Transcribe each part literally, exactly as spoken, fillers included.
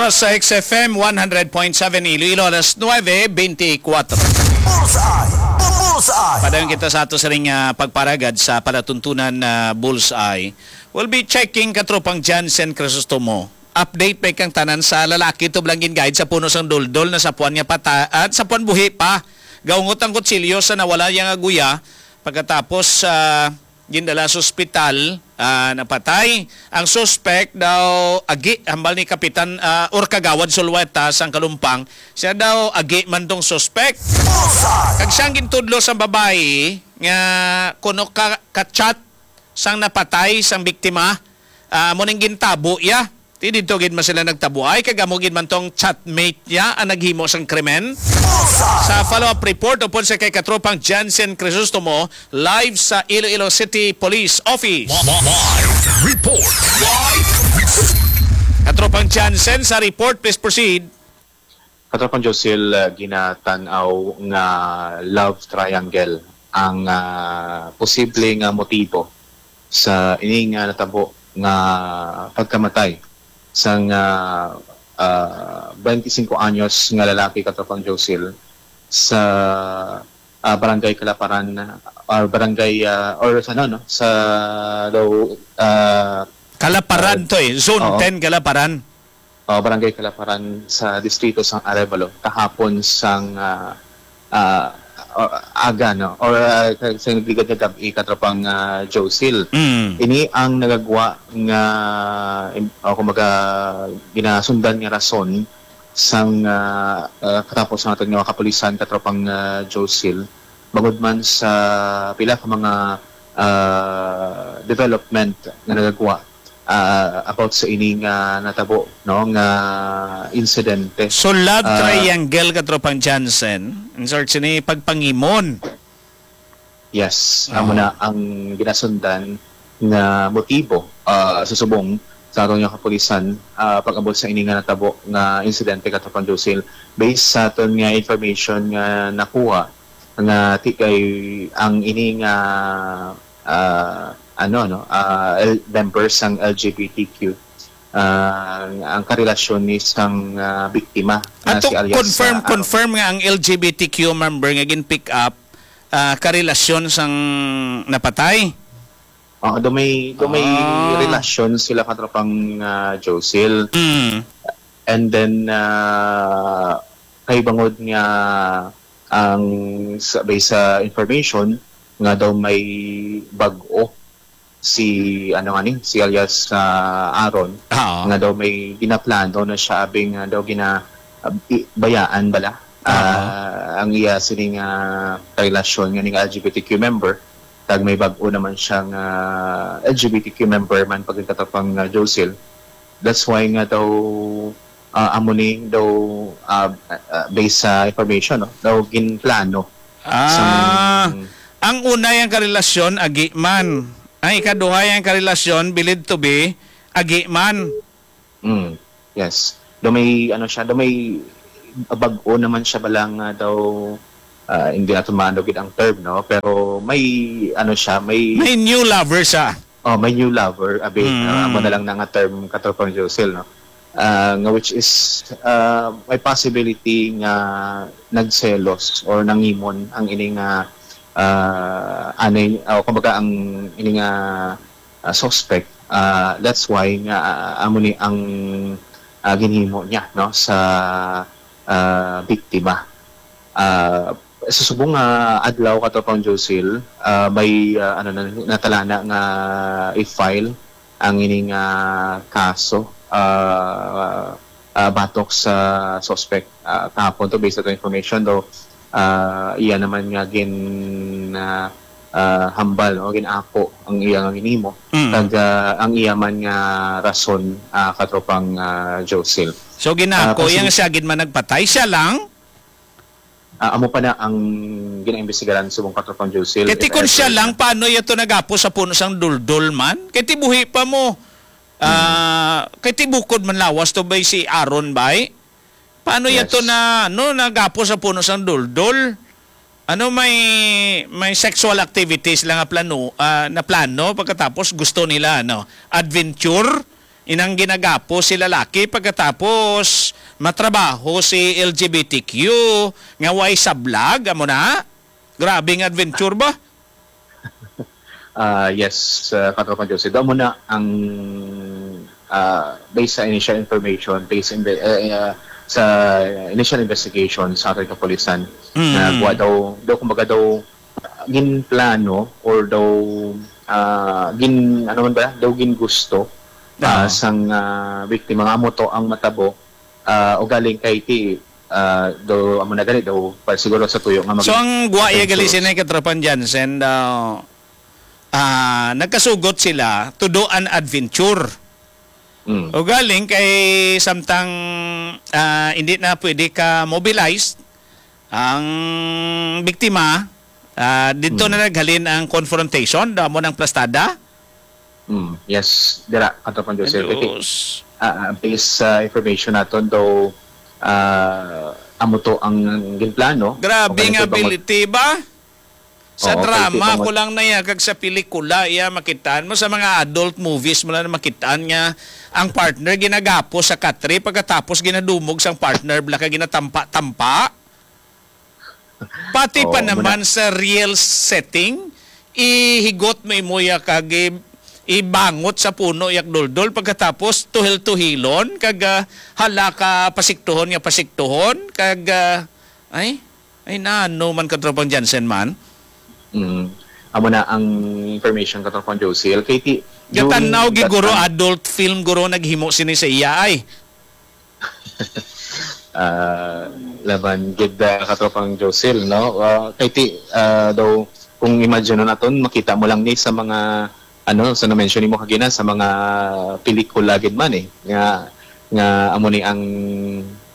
Sa X F M one hundred point seven Iloilo, alas nuebe beintikwatro. Bullseye! Bullseye! Padayon kita sa ato sining, ah, pagparagad sa palatuntunan na Bullseye. We'll be checking, katropang Jansen Crisostomo. Update pa kang tanan sa lalaki to blanggin guide sa puno sang duldol na sa puan nga pata at sa puan buhi pa. Gaungot ang kutsilyo sa nawala niya nga guya pagkatapos, ah, gindala sa ospital, ah, napatay. Ang suspect daw agi, hambal ni Kapitan, ah, or Kagawad Sulueta sang Kalumpang, siya daw agi man tong suspect. Kag siyang gintudlo sa babayi nga kuno ka, ka-chat sang napatay sang biktima, ah, amo ning gintabo iya. Ti didto gid man sila nagtabuay, kag amo gid man tong chatmate niya ang naghimo sang krimen. Sa follow-up report upod sa kay Katropang Jansen Crisostomo, live sa Iloilo City Police Office. Live report. Live report. Katropang Jansen, sa report, please proceed. Katropang Josil, ah, ginatan-aw nga love triangle ang, ah, posible nga motibo sa ini nga natabo nga pagkamatay sang, ah, ah, twenty-five anyos nga lalaki, Katropang Josil, sa, ah, Barangay Kalaparan, or Barangay, ah, or sa, ano, no, sa daw, ah, Kalaparan ah, to eh. Zone oo. ten Kalaparan. Oh, Barangay Kalaparan sa distrito sang Arevalo kahapon sang, ah, ah, o-, aga, no? Or, ah, sa, sa nagligad nga gab-i, Katropang, ah, Josil. Mm. Ini ang nagagwa nga, im-, o kumbaga, ginasundan nga rason sang, ah, ah, katapos sa aton nga mga kapulisan, Katropang, ah, Josil, bangod man sa pila ka mga, ah, development nga nagagwa, ah, about sa ini nga natabo, no, nga insidente. So, love Ah, triangle, Katropang Jansen, in short, sini pagpangimon. Yes, amo Oo. na ang ginasundan nga motibo, ah, sa subong sa aton nga kapulisan, ah, pag-abot sa ini nga natabo nga insidente, Katropang Josil. Based sa aton nga information nga nakuha, nga ti-, kay ang ini nga, ah, ano, no, ah, L-, members sang L G B T Q, ah, ang karelasyon ni sang, ah, biktima nga Ato si alias, confirm, ah, Aaron. confirm nga ang L G B T Q member nga gin-pick up, ah, karelasyon sang napatay? Oo, do may, do may Ah. relasyon sila, Katropang, ah, Josil. Mm. And then, ah, kay bangod nga ang sa, based sa information nga daw may bag-o si, ano nga ni, si alias, ah, Aaron, Oo. nga daw may ginaplano na siya, abi nga daw gina-, ah, i-, bayaan bala, Oo. ah, ang iya sining, ah, karelasyon nga ning L G B T Q member, kag may bag-o naman siya nga L G B T Q member man, pagkatapang, ah, Josil. That's why nga daw, ah, amo ni daw, ah, ah, based sa information, no, daw ginplano Ah, sang ang una yang karelasyon, agi man. Ang ikaduha yang karelasyon, bilid to be, agi man. Mm, yes. Do may, ano siya, do may bag-o naman siya bala nga daw, ah, hindi nato maano gid ang term, no? Pero may, ano siya, may May new lover siya. Oh, may new lover, abi. Mm. Ah, amo na lang na nga term, Katropang Josil, no? Ah, nga which is, ah, may possibility nga nagselos or nangimon ang ini nga, ah, anay, o kumbaga ang ini nga, ah, suspect. Ah, that's why nga, ah, amo ni ang, ah, ginhimo niya, no, sa, ah, biktima. Ah, sa subong nga adlaw, Katropang Josil, ah, may, ah, ano na, natalana nga i-file ang ining, ah, kaso, ah, ah, batok sa suspect. Ah, kahapon to, based sa information, do, ah, iya naman nga gin, ah, ah, hambal, no? Gin-ako ang iya nga ginhimo. Mm. Kag, ah, ang iya man nga rason, ah, Katropang, ah, Josil. So, ginako Ah, pag- yang siya gid man nagpatay, siya lang? Ah, amo pa na ang ginaimbestigaran subong, Katropang Josil, Kay ti if kun siya ever lang, na. Paano iya to nagapo sa puno sang duldol man? Kay ti buhi pa mo. Ah, Hmm. Kay ti bukod man lawas to bay si Aaron bay? Paano iya to Yes. na, no, nagapo sa puno sang duldol? Ano, may, may sexual activities lang nga plano, ah, na plano pagkatapos gusto nila, ano, adventure? Inang ginagapos si lalaki pagkatapos matrabaho si L G B T Q nga way sablag, amo na? Grabe nga adventure ba? Ah, yes, uh, Katropang Jose. Daw mo na ang, ah, based sa initial information, based in the, uh, uh, sa initial investigation sa ating kapulisan, Mm. na kuha daw, daw kumbaga daw, ah, ginplano or daw, ah, gin, ano man ba, daw gin gusto ah, Ah. sang ah, biktima nga amo to ang matabo, ah, ugaling kay ti ah, daw amo na gani daw pa siguro sa tuyo nga So maging ang guwa iya gali adventurous. Sinay Katropang Jansen daw, ah, nagkasugot sila to do an adventure. Mm. Ugaling kay samtang, ah, hindi na pwede ka mobilize ang biktima, ah, dito Mm. na naghalin ang confrontation, damo ng plastada. Mm, yes, dira, Katropang Joseph. Kay, Diyos. ah, ah, based sa information naton daw, ah, amo to ang ginplano. Grabe Kung nga ano to bang mag- ability ba? Sa Oo, drama kay ko lang naya kag sa pelikula iya makitaan mo, sa mga adult movies mo lang makitaan nga ang partner ginagapo sa katre pagkatapos ginadumog sang partner bala ka ginatampa-tampa. Pati Oo, pa muna. Naman sa real setting, ihigot mo imo ya kag i- ibangot sa puno yak doldol pagkatapos tuhil-tuhilon kag ah, hala ka pasiktuhon nga pasiktuhon kag ah, ay ay nano man Katropang Jansen man. Mm. Amo na ang information, Katropang Josel. Kay ti, Gatanaw during gi that guro time, adult film guro naghimo sini sa iya ay. ah, laban gid, ah, Katropang Josel, no? Ah, kay ti, ah, daw, kung imagine naton, makita mo lang ni sa mga, ano, sa na-mention nimo kagina, sa mga pelikula gid man eh, nga, nga amo ni ang,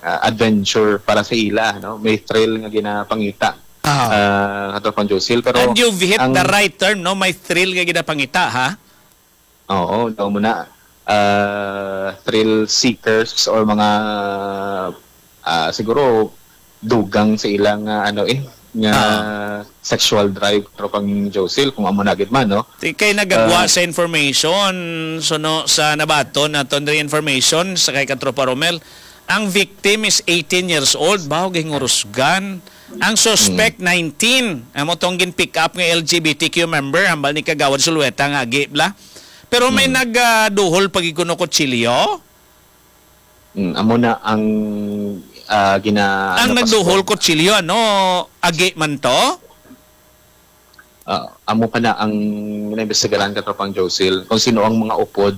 ah, adventure para sa ila, no? May thrill nga ginapangita, Ah. ah, Katropang Josel. Pero And you've hit ang the right term, no? May thrill nga ginapangita, ha? Oo, daw mo na, ah, thrill seekers or mga, ah, siguro dugang sa ilang, ah, ano eh, nga Ah. sexual drive, Katropang Josel, kung amo na gid man, no? Ti kay nagagwa Ah. sa information, suno sa nabaton naton diri information sa kay Katropa Romel, ang victim is eighteen years old, baho gihingurusgan. Ang suspect, Hmm. nineteen. Amo tong gin-pick up nga L G B T Q member, hambal ni Kagawad Sulueta nga agi bala. Pero may Hmm. nagaduhol pa gid kuno kutsilyo. Mm, amo na ang, ah, gina-, Ang ano, nagduhol passport. kutsilyo, ano, agi man to? Ah, amo pa na ang ginaimbestigaran, Katropang Josel, kung sino ang mga upod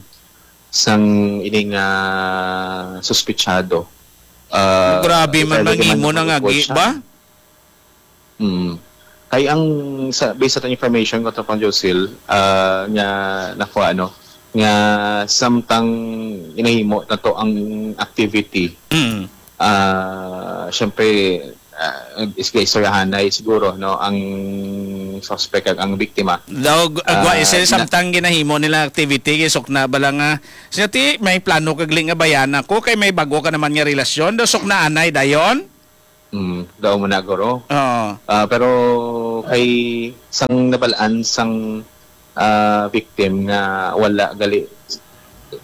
sang ining, ah, suspetsado. Ah, Grabe man, either manghimo man ng upod agi siya. Ba? Mm. Kay ang sa, based sa information ko, Katropang Josel, ah, nga nakuha, ano, nga samtang ginahimo na to ang activity, Mm. ah, syempre, ah, is-, istoryahanay siguro, no, ang suspect kag ang biktima. Daw, agwa Ah, isa na- samtang ginahimo nila activity, sukna bala nga, siya ti, may plano kag li nga bayan ako, kay may bago ka naman nga relasyon, daw sukna anay dayon? Mm, daw mo na, guro. Oo. Ah, pero kay sang nabalaan sang, ah, victim nga wala gali,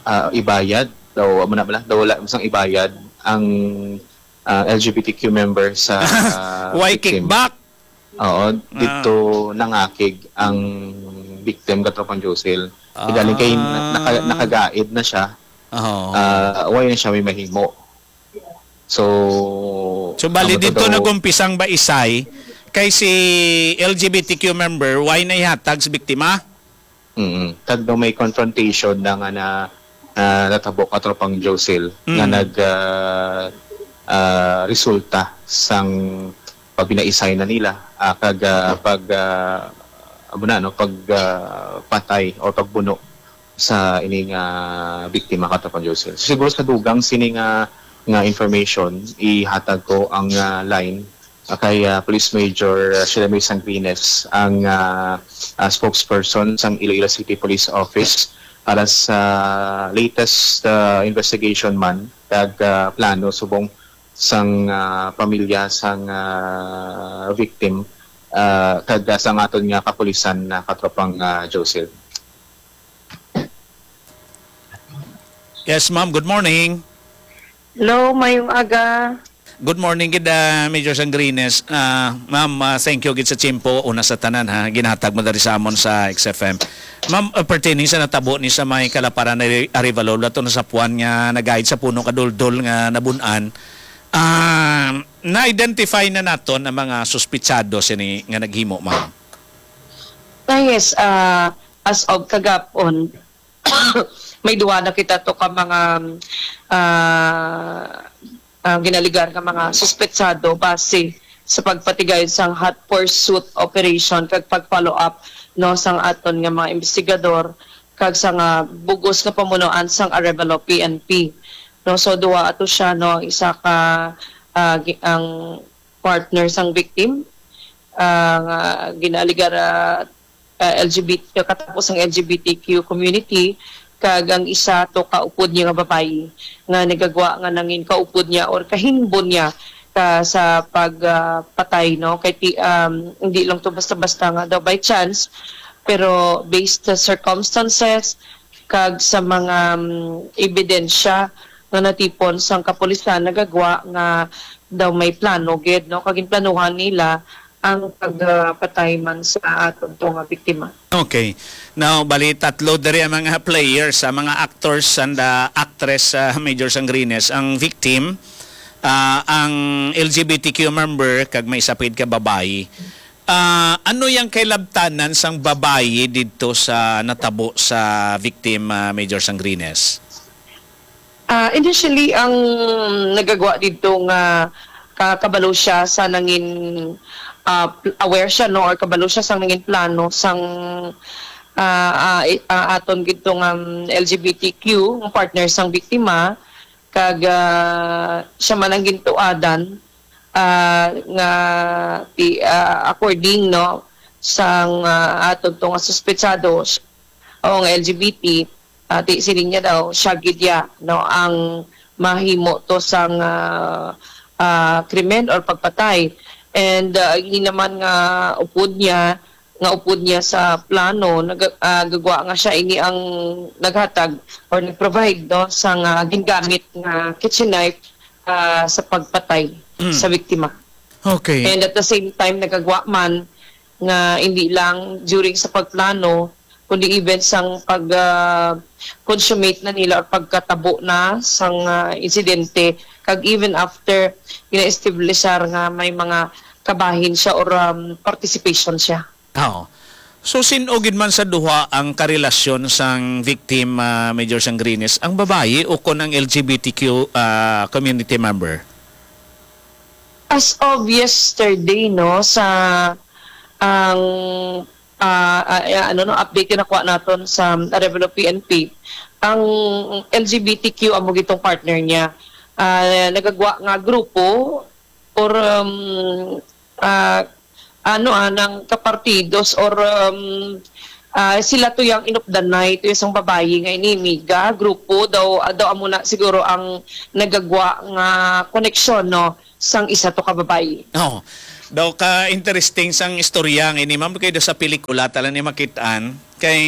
ah, ibayad, daw amo na bala, daw wala sang ibayad ang, ah, L G B T Q member sa Why victim. Kickback? Oo, Ah. dito nangakig ang victim, Katropang Josel. Galing kay na- Ah. naka- nakagaid na siya. Oo. Ah, why na siya may mahimo? So, So, bali amo to dito daw. Nagumpisang baisay kay si L G B T Q member, why na ihatag sa biktima? Mm. Kag daw may confrontation na nga na, na natabo, Katropang Josel, Mm. nga nag, ah, ah, resulta sang pagpinaisay na nila, ah, kag, ah, pag, ah, amo na, no, pag, ah, patay or pagbuno sa ining, ah, biktima, Katropang Josel. Siguro sa dugang sini nga, nga information, ihatag ko ang, ah, line, ah, kay, ah, Police Major, ah, Shelemy Sangrines, ang, ah, ah, spokesperson sang Iloilo City Police Office para sa latest, ah, investigation man kag, ah, plano subong sang, ah, pamilya sang, ah, victim, ah, kag, ah, sang aton nga kapulisan na, Katropang, ah, Josel. Yes, ma'am. Good morning. Hello, mayong aga. Good morning gid, ah, Major Sangrines. Ah, ma'am, ah, thank you gid sa tiyempo. Una sa tanan, ha, ginhatag mo diri sa amon sa X F M. Ma'am, ah, pertaining sa natabo ni sa may Kalaparan na Arevalo, lato na sa puwan nga nagahid sa puno ka duldol nga nabun-an. Ah, na-identify na naton ang mga suspitsado sini nga naghimo, ma'am? Ah, yes, ah, as of kagapon, may duha na kita to ka mga, ah, ah, ginaligar nga mga suspetsado base sa pagpatigayon sang hot pursuit operation kag pag-follow up, no, sang aton nga mga investigador kag sa nga bugos nga pamunuan sang Arevalo P N P, no. So, duha ato siya, no, isa ka, ah, gi-, ang partner sang victim, ah, nga ginaligar, ah, ah, L G B T, katapos ang L G B T Q community, kag ang isa to kaupod niya nga babayi nga nagagwa nga nangin kaupod niya or kahinbon niya ka sa pag, ah, patay, no? Kay ti-, um, hindi lang to basta-basta nga daw by chance, pero based sa circumstances kag sa mga, um, ebidensya nga natipon sang kapulisan, nagagwa nga daw may plano gid, no? Kag ginplanuhan nila ang pagpatay man sa aton to nga biktima. Okay. Now, bali, tatlo diri ang mga players, ang mga actors and, ah, actress, ah, Major Sangrines. Ang victim, ah, ang L G B T Q member, kag may isa pa gid ka babayi. Ah, ano yang kailabtanan sang babayi didto sa natabo sa victim, ah, Major Sangrines? Ah, initially, ang nagagwa didto nga ka-, kabalo siya sa nangin, ah, pl-, aware siya, no, or kabalo siya sa nangin plano sang, ah, ah, i-, ah, aton gid to nga, um, L G B T Q nga partner sang biktima, kag, ah, siya man ang gintuadan, ah, nga ti-, ah, according, no, sang, ah, aton to nga suspetsado, o nga L G B T, ah, ti-, siling niya daw, siya gid ya, no, ang mahimo to sang, ah, ah, krimen or pagpatay. And, ah, ini naman nga upod niya, nga upod niya sa plano, nag-, ah, gagwa nga siya ini ang naghatag or nag-provide, no, sang, ah, gingamit nga kitchen knife, ah, sa pagpatay Mm. sa biktima. Okay. And at the same time, nagagwa man nga hindi lang during sa pagplano, kundi even sang pag, ah, consummate na nila or pagkatabo na sang, ah, insidente, kag even after gina-establishar nga may mga kabahin siya or, um, participation siya. Oo. So, sin-o gid man sa duha ang karelasyon sang victim, ah, Major Sangrines, ang babayi o kon ang L G B T Q, ah, community member? As of yesterday, no, sa ang, ah, ah, ah, ano, no, update nga nakuha naton sa Arevalo P N P, ang L G B T Q amo gitong partner niya. Ah, nagagwa nga grupo or, um, ah, ano, ah, nang kapartidos or, um, ah, sila to yang inupdanay to isang babayi nga inimiga, grupo daw, ah, daw amo na siguro ang nagagwa nga koneksyon, no, sang isa to ka babayi. Oh, daw ka interesting sang istorya nga ini, ma'am, kay daw sa pelikula ta lang ni makit-an, kay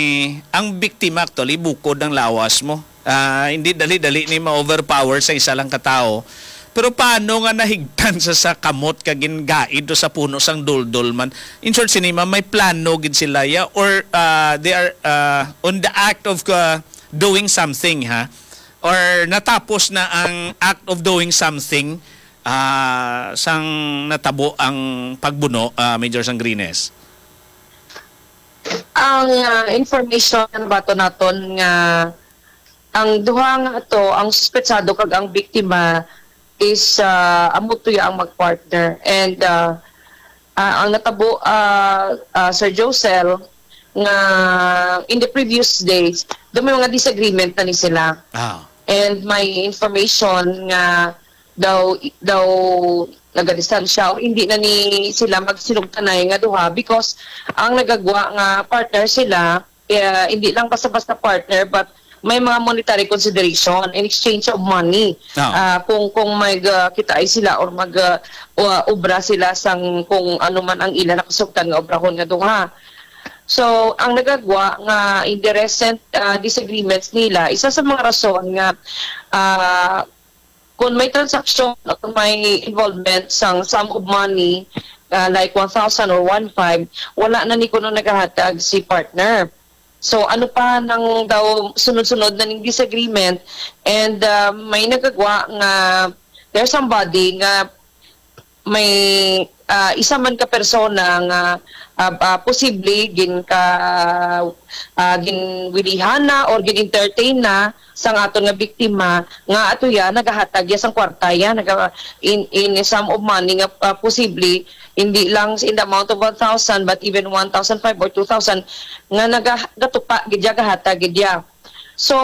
ang biktima actually bukod ang lawas mo. Ah, hindi dali-dali ni ma-overpower sa isa lang ka tawo. Pero paano nga nahigtan sa, sa kamot ka gingaid o sa puno sang duldol man? In short, sini, ma'am, may plano gid sila, ya, or, ah, they are, ah, on the act of, ah, doing something, ha? Or natapos na ang act of doing something, ah, sang natabo ang pagbuno, ah, Major Sangrines? Ang, ah, information nga nabaton naton nga ang duha nga ato, ang suspetsado kag ang biktima is, ah, amo to ya ang mag-partner. And, ah, ah, ang natabo, ah, ah, Sir Josel, nga in the previous days, daw may mga disagreement na ni sila. Ah. And may information nga daw, daw nagadistansya o hindi na ni sila magsinugtanay nga duha because ang nagagwa nga partner sila, eh, hindi lang basta-basta partner, but may mga monetary consideration in exchange of money. Ah. Ah, kung, kung mag, ah, kitaay sila or mag, ah, o-, obra sila sang kung ano man ang ila nakasugtan nga obrahon nga duha. So, ang nagagwa nga in the recent, ah, disagreements nila, isa sa mga rason nga, ah, kung may transaksyon o kung may involvement sang sum of money, ah, like one thousand or one five, wala na ni kuno nagahatag si partner. So, ano pa nang daw sunod-sunod na ning disagreement? And, ah, may nagagwa nga there's somebody nga may, ah, isa man ka persona nga, ah, ah, posible gin ka, ah, ginwilihan na or gin-entertain na sang aton nga biktima nga ato ya nagahatag ya sang kwarta ya, naga-, in, in sum of money nga, ah, posible hindi lang in the amount of one thousand but even one thousand five or two thousand nga naga-, gatupa gid ya, gahatag gid ya. So,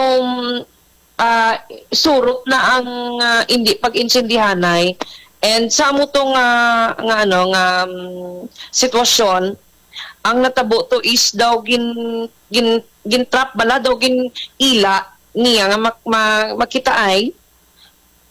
ah, surot na ang, ah, hindi pag-intindihanay. And sa amo to nga, nga ano, nga, mm, sitwasyon, ang natabo to is daw gin-, gin-, gin-trap bala, daw gin-ila niya nga mak-, ma-, makitaay,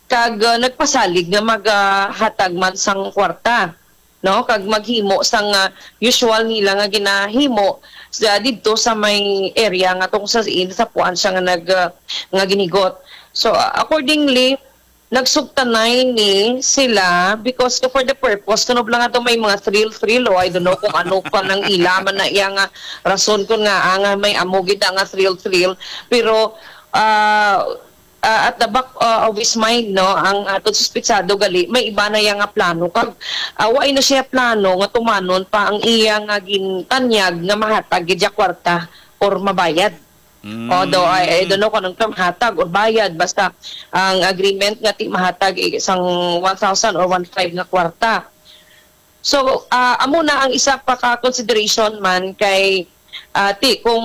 kag, ah, nagpasalig nga maghatag man sang kwarta, no? Kag maghimo sang, ah, usual nila nga ginahimo sa, didto sa may area nga tong sa in sa puan siya nga nag, ah, nga ginigot. So, ah, accordingly, nagsugtanay ni sila because for the purpose, kuno lang ato may mga thrill-thrill o I don't know kung ano pa nang ila man na iya nga rason kun nga, ah, nga may amo gid na nga thrill-thrill. Pero, ah, ah, at the back, ah, of his mind, no, ang aton suspitsado gali, may iba na iya nga plano. Kag, ah, wa na siya plano nga tumanon pa ang iya nga gintanyag nga mahatag gid siya kwarta or mabayad. Mm. Although, I, I don't know kung anong term, hatag or bayad, basta ang agreement nga ti mahatag, eh, sang one thousand or one five nga kwarta. So, ah, amo na ang isa pa ka consideration man kay, ah, ti kung,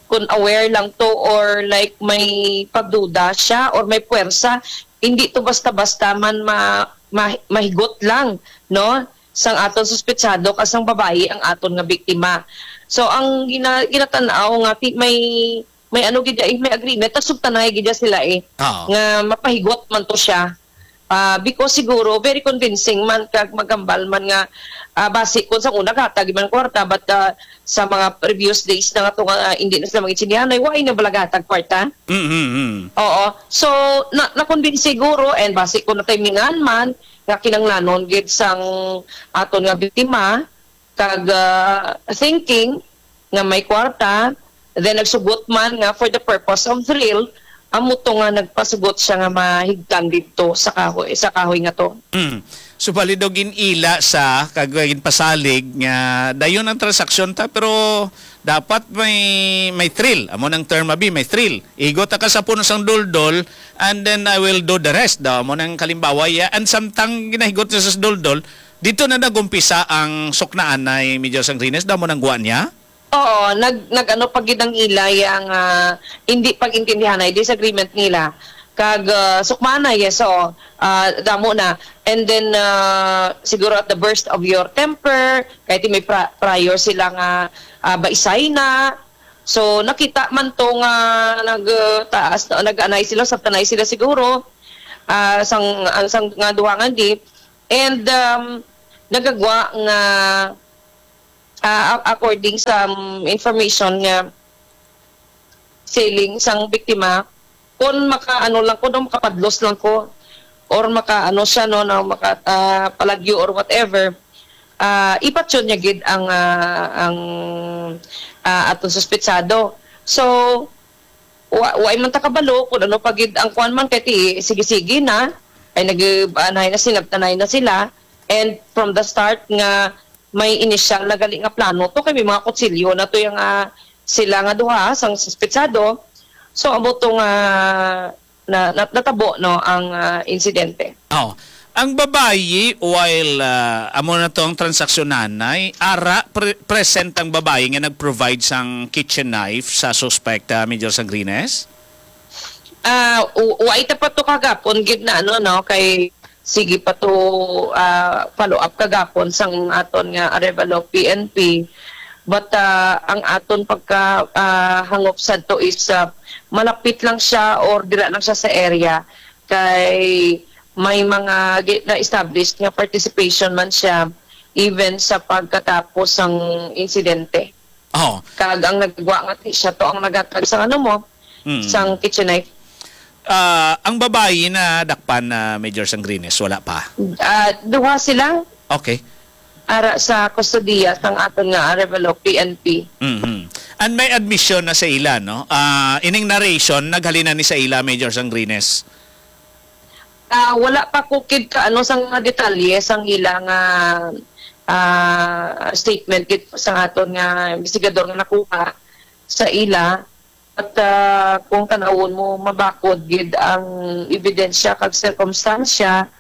kung aware lang to or like may pagduda siya or may puwersa, hindi to basta-basta man ma-, ma-, mahigot lang, no? Sang aton suspetsado kag sang babayi ang aton nga biktima. So, ang gina-, ginatan-aw nga ti may, may ano gid, eh, may agreement, nagsugtanay gid sila, eh, Oo. nga mapahigot man to siya. Ah, because siguro very convincing man kag magambal man nga, ah, basi kung sa una gahatag man kwarta, but, ah, sa mga previous days na nga to nga, ah, hindi na sila mag-intindihan, ay, why na bala gahatag kwarta? Mm, mm, mm. Oo. So, na, na-convince siguro, and basi kung natimingan man nga kinanglanon gid sang aton nga biktima, kag, ah, thinking nga may kwarta, then nagsugot man nga for the purpose of thrill, amo to nga nagpasugot siya nga mahigtan didto sa kahoy, sa kahoy nga to. Mm. So, bali daw gin-ila sa, kag ginpasalig nga dayon ang transaksyon ta, pero dapat may, may thrill. Amo nang term abi, may thrill. Igot ta ka sa puno sang duldol, and then I will do the rest. Daw, amo nang kalimbawa, ya. And samtang ginahigot na sa duldol, dito na nagumpisa ang suknaan na Major Sangrines. Daw, amo nang guwa niya? Oo, nag-, nag-ano pa gid ang ila ya nga hindi pag-intindihanay, disagreement nila. Kag, ah, sukmana, yes, oo. Ah, damo na. And then, ah, siguro at the burst of your temper, kay ti may pra-, prior sila nga, ah, baisay na. So, nakita man to nga nag, ah, taas, nag-anay sila, sabtanay sila siguro, ah, sang, ang sang nga duha nga di. And, um, nagagwa nga, ah, a-, according sa, um, information nga siling sang biktima, kung maka-, ano lang ko, no, makapadlos lang ko, or maka-, ano siya, no, no, maka-, ah, palagyo or whatever, ah, ipatyon niya gid ang, ah, ang, ah, aton suspetsado. So, wa-, wa man ta kabalo kung ano pa gid ang kuwan man, kay ti, sige-sige na, ay nag-, anay na sila, tanay na sila, and from the start nga may initial na gali nga plano to, kay may mga kutsilyo na to yung, ah, sila nga duha sang suspetsado. So, amo to nga na, na, natabo, no, ang, ah, insidente. Oh. Ang babayi, while, ah, amo na to ang transaksyon, nanay, ara, pre-, present ang babayi nga nag-provide sang kitchen knife sa suspect, ah, Major Sangrines? Ah, u-, wa ita pa to kagapon gid na ano, no, kay sige pa to, ah, follow up kagapon sang aton nga Arevalo P N P. But, ah, ang aton pagka, ah, hangop sadto is, ah, malapit lang siya or dira lang siya sa area kay may mga gi-, na-established nga participation man siya even sa pagkatapos sang insidente. Oh. Kag ang nagwa nga ti-, siya to ang naghatag sa ano mo, Mm. sang kitchen knife. Ah, ang babayi na dakpan na Major Sangrines, wala pa? Ah, duha sila. Okay. Ara sa kustodiya sang aton nga Arevalo P N P. Mhm. And may admission na sa ila, no? Ah, ining narration, naghalin na ni sa ila, Major Sangrines? Ah, wala pa ko kid ka, ano, sang mga detalye sang ila nga, ah, statement gid sa aton nga investigador nga nakuha sa ila. At, ah, kung tanawon mo, mabakod gid ang ebidensya kag sirkumstansya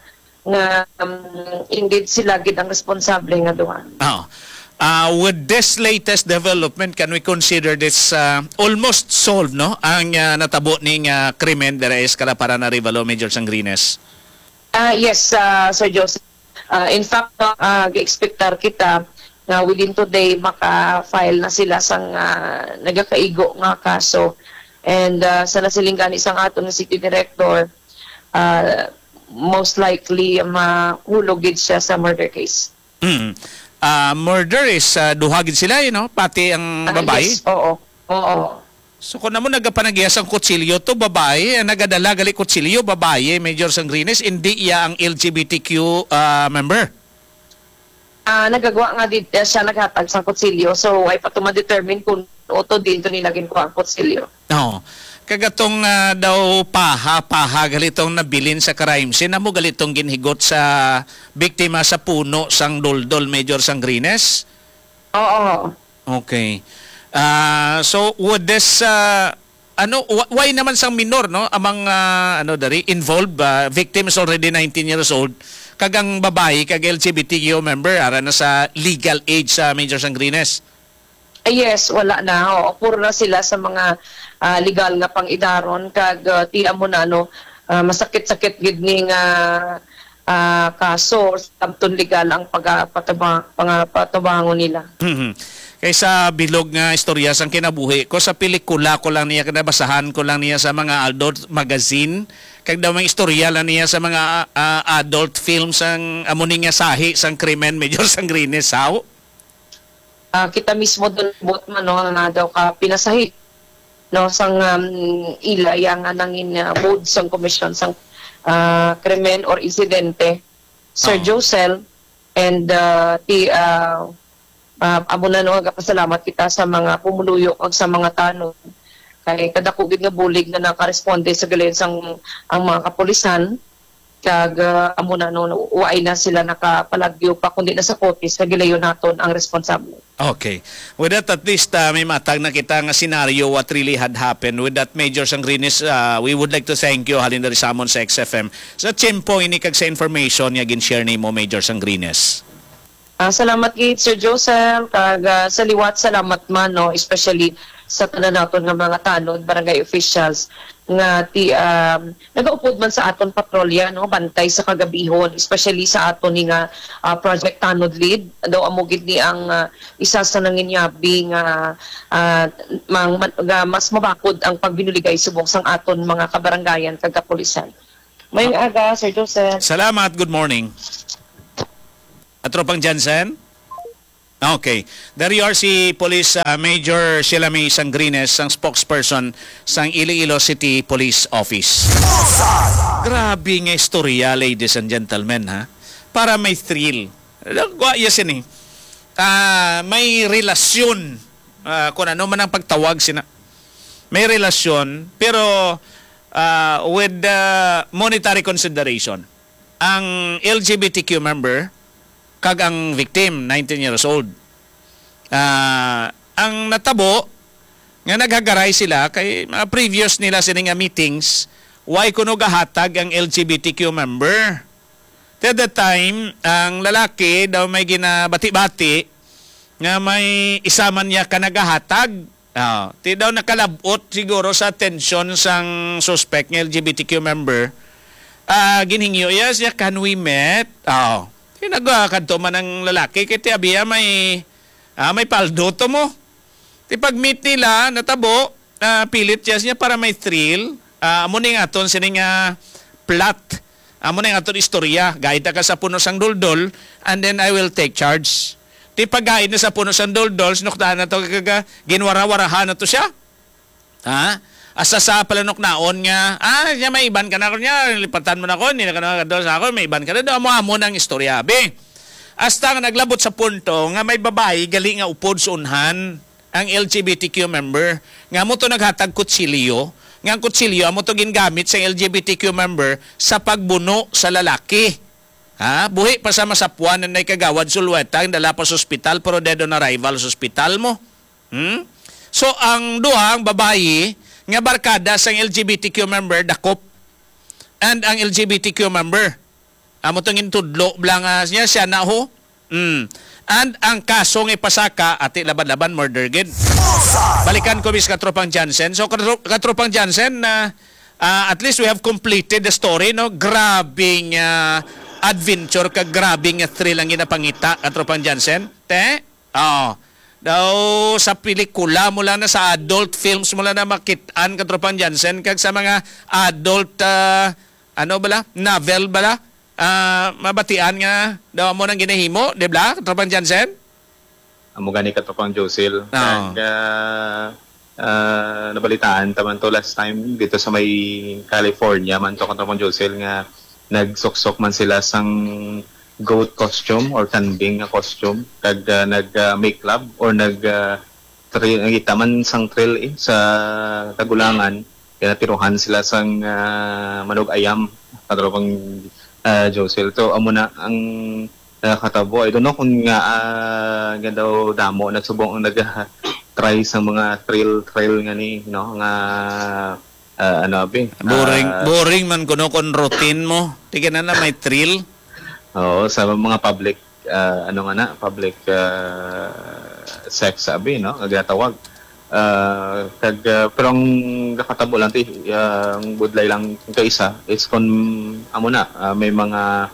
nga, um, indeed sila gid ang responsable nga duha. Oh. Ah, with this latest development, can we consider this, ah, almost solved, no? Ang, ah, natabo ning, ah, krimen dira sa Escalapara, Arevalo, Major Sangrines? Ah, yes, ah, Sir Joseph. Ah, in fact, no, ah, gi-expectar kita nga within today maka-file na sila sang, ah, nagakaigo nga kaso. And, ah, sa nasiling gani sang aton nga city director, ah, most likely mahulog gid siya sa murder case. Mm. Ah, murder is, ah, duha gid sila, eh, no? Pati ang Ah, babayi? Yes, oo. Oo. So, kung amo nagapanagya sang kutsilyo to, babayi, ang nagadala gali kutsilyo, babayi, Major Sangrines, indi iya ang L G B T Q, ah, member? Ah, nagagwa nga di, eh, siya naghatag sang kutsilyo. So, ay pa to ma-determine kung uto din to nila ginkuha ang kutsilyo. Oo. Kag atong, ah, daw paha, paha gali tong nabilin sa crime scene, amo gali tong ginhigot sa biktima sa puno sang duldol, Major Sangrines? Oo. Okay. Ah, so, would this, ah, ano, wh-, why naman sang minor, no? Amang, ah, ano, dari, involved, ah, victim is already nineteen years old. Kag ang babayi, kag L G B T Q member, ara na sa legal age sa Major Sangrines. Ah, yes, wala na. Oo, puro na sila sa mga, ah, legal nga pang-idaron. Kag, ah, ti amo na, no, ah, masakit-sakit gid ni nga, ah, kaso or samton legal ang pagapataba-, pangapatubangon nila. Mhm. Kay sa bilog nga istorya sang kinabuhi ko, sa pelikula ko lang niya, kinabasahan ko lang niya sa mga adult magazine, kag daw may istorya lang niya sa mga, ah, adult films ang amo ni nga sahi sang krimen, Major Sangrines, how? Ah, kita mismo dun buot man, no, nga daw ka pinasahi, no, sang, um, ila ya nga nangin, ah, mood sang komisyon sang, ah, krimen or insidente, Sir Oo. Josel, and, ah, ti, ah, ah, amo na, no, nagapasalamat kita sa mga pumuluyo kag sa mga tanod. Kay kadako gid nga bulig nga nakaresponde sa gilayon sang ang mga kapulisan. Kag, ah, amo na, no, waay na sila nakapalagyo pa, kundi na sa korte sa gilayon naton ang responsable. Okay. With that, at least, ah, may matag na kita nga senaryo what really had happened. With that, Major Sangrines, ah, we would like to thank you, halin diri sa amon sa X F M, sa tiyempo ini kag sa information nga gin-share nimo, Major Sangrines. Ah, salamat gid, Sir Joseph, kag, ah, sa liwat, salamat man, no, especially sa tanan naton nga mga tanod, barangay officials, nga ti-, um, nagaupod man sa aton patrolya, no, bantay sa kagabihon, especially sa aton ni nga, ah, Project Tanod Lead. Daw amo gid ni ang, ah, isa sa nanginyabi nga, ah, mang-, man-, nga mas mabakod ang pagbinuligay subong sang aton mga kabarangayan kag kapulisan. Mayong aga, Sir Joseph. Salamat. Good morning. Atropang Jansen? Okay. Dari R C Police, ah, Major Sheila May Sangrines, ang spokesperson sang Iloilo City Police Office. Grabe nga istorya, ladies and gentlemen, ha? Para may thrill. Wa ya sini. Ah, may relasyon, ah, kung ano man ang pagtawag sina. May relasyon, pero, ah, with, ah, monetary consideration. Ang L G B T Q member kag ang victim, nineteen years old. Ah, ang natabo nga naghagaray sila kay mga previous nila sini nga meetings, why kuno gahatag ang L G B T Q member? At that time, ang lalaki daw may ginabati-bati nga may isa man niya ka nagahatag. Ah, ti daw nakalabot siguro sa atensyon sang suspect nga L G B T Q member. Ah, ginhingyo iya siya, "Can we meet?" Ah, ti nagkadto man ang lalaki, kay ti abi iya may, ah, may paldo to mo. Ti pag-meet nila, natabo, ah, pilit siya siya para may thrill. Ah, amo ni nga aton sini nga plot. Amo ni nga aton istorya. Gaida ka sa puno sang duldol, and then I will take charge. Ti pagkain na sa puno sang doldol, sinuktaan na to, kag, ah, ginwarawarahan na to siya. Ha? Asa sa palanuknaon nga, "Ah, siya, may iban ka na ko niya, lipatan mo na ko, hindi na ka na kadol sa ako, may iban ka na do." Amo-amo nang istorya, abi. Hasta nga naglabot sa punto nga may babayi gali nga upod sa unhan ang L G B T Q member. Nga mo to naghatag kutsilyo, nga ang kutsilyo amo to gingamit sa L G B T Q member sa pagbuno sa lalaki. Ha? Buhi pa sa masapuan na nay Kagawad Zulueta, dala pa sa ospital, pero dead on arrival sa ospital mo. Hmm? So, ang duha, ang babayi nga barkada sang L G B T Q member, dakop. And ang L G B T Q member, amo tong intudlo bala nga niya, siya na ho. Hmm. And ang kaso nga ipasaka, ati, laban-laban, murder gid. Balikan ko, bis, Katropang Jansen. So, Katro-, Katropang Jansen, na, ah, at least we have completed the story, no? Grabing, ah, adventure ka, grabing, ah, thrill ang ginapangita, Katropang Jansen. Te? Oo. Daw sa pelikula mo lang na, sa adult films mo lang na makit-an, Katropang Jansen, kag sa mga adult, ah, ano bala? Novel bala? Ah, mabatian nga daw mo nang ginahimo, di ba, Katropang Jansen? Amo gani, Katropang Josil. Oo. Kag, ah, ah, nabalitaan ta man to last time dito sa may California man to, Katropang Josil, nga nagsuksok man sila sang goat costume or kanding nga costume, kag, ah, nag, ah, make love or nag, ah, thrill, nagita man sang thrill, eh, sa kagulangan, kaya natiruhan sila sang, ah, manug-ayam, Katropang, ah, Josel. So, amo na ang, ah, katabo. I don't know kung nga, ah, nga daw damo na subong ang nag-try sa mga thrill-thrill nga ni, no, nga, ah, ano, abi, Boring, ah, boring man kuno kon routine mo. Di ka na na may thrill. Oo, sa mga public, ah, ano nga na, public, ah, sex, abi, no, nga ginatawag. Ah, kag, ah, pero ang nakatabo lang, ti, ah, ang budlay lang kaisa is kon amo na, ah, may mga,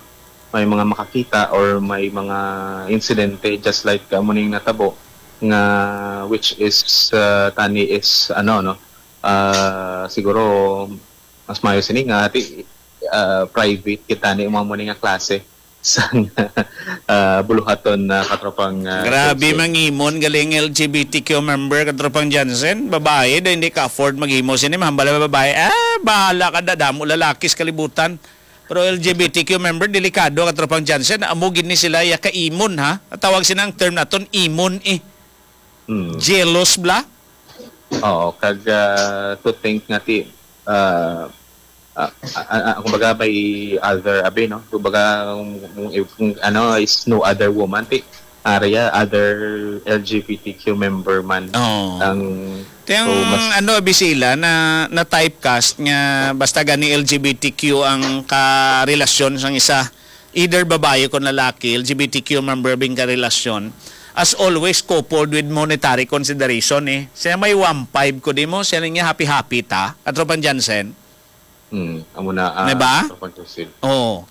may mga makakita or may mga insidente just like, ah, amo ning natabo nga, which is, ah, tani is, ano, no, ah, siguro mas maayo sini nga ti, ah, private kita ni mga mo ni nga klase sang, ah, buluhaton na Katropang, ah, Grabe Josie. Mangimon galing L G B T Q member, Katropang Jansen. Babae daw hindi ka-afford maghimo sini, mahambal ang babae. Ah, bahala ka, dadamo lalaki sa kalibutan. Pero L G B T Q member, delikado, Katropang Jansen. Amo gid ni sila ya kaimon, ha? Ang tawag sila ang term naton, imon, eh. Mm. Jealous bla? Oo, kag, ah, to think nga ti, ah, ah, ah, ah, kumbaga may other, abi, no? Kumbaga, kung, kung, kung ano, is no other woman, ti, area, other L G B T Q member man Oo. Ang, Kaya so, ang mas ano, abi sila, na, na typecast nga basta gani L G B T Q ang karelasyon sang isa, either babae kon lalaki, L G B T Q member bing karelasyon, as always, coupled with monetary consideration, eh. Siya may one five ko, di mo? Siya niya happy-happy ta, Katropang Jansen. Hmm, amo na, ah, Di ba? Katropang Josil. Oo.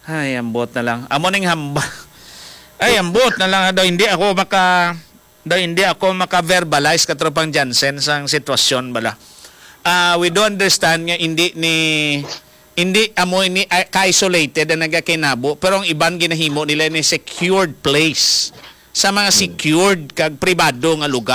Ay, ambot na lang. Amo ning hamba. Ay, ambot na lang daw. Hindi ako maka, daw hindi ako maka-verbalize, Katropang Jansen, sang sitwasyon bala. Ah, we do understand nga hindi ni, hindi amo ini, ah, ka-isolated ang nagakinabo, pero ang iban ginahimo nila ni secured place sa mga Hmm. secured kag pribado nga lugar.